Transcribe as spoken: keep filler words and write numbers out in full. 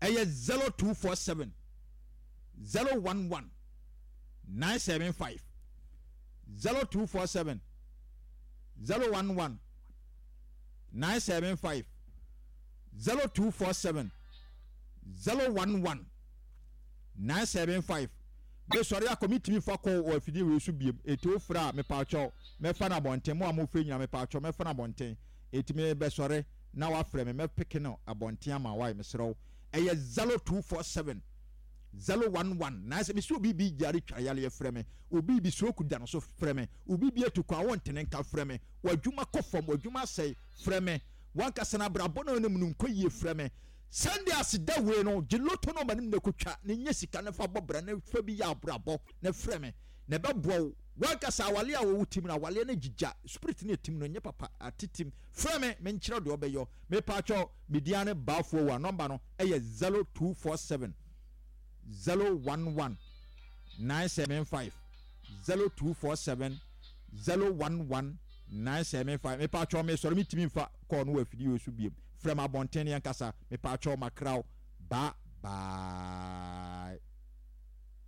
Ɛyɛ zero two four seven zero one one nine seven five zero two four seven zero one one nine seven five zero two four seven zero one one nine seven five. Mesɔre akɔ metumi fa kɔ wɔ afidie wei so biem eti ofra a mepaakyɛw mɛfa no abɔnten mo a mofrɛ nyina mepaakyɛw mɛfa no abɔnten eti mebɛsɔre na wafrɛ me mɛpeke no abɔnten ama wae mesrɛ wo ɛyɛ zero two four seven zero one one nine sɛ mesi obi bi gyare twa yareɛ frɛ me obi bi stroke da no so frɛ me obi bi atu kwan wɔntene nka frɛ me w'adwuma kɔ fam w'adwuma asɛe frɛ me wankasa no abrabɔ no anim no nkɔ yie frɛ me Sunday aseda wei no gye loto no ma no na kotwa na nya sika no fa bɔ bra na fa bi yɛ abrabɔ na frɛ me na ɛbɛboa wo wankasa awale a wɔwɔ tim no awaleɛ no gyigya spirit no ɛtim no nyɛ papa atetim frɛ me menkyerɛ deɛ ɔbɛyɔ mepaakyɛw media ne baafoɔ wa nɔmba no ɛyɛ zero two four seven zero one one nine seven five zero two four seven zero one one nine seven five mepaakyɛw mesɔre metumi mfa kɔɔ no wɔ afidie so biem frɛ me abɔnten ne yɛnkasa mepaakyɛw makraw ba bye.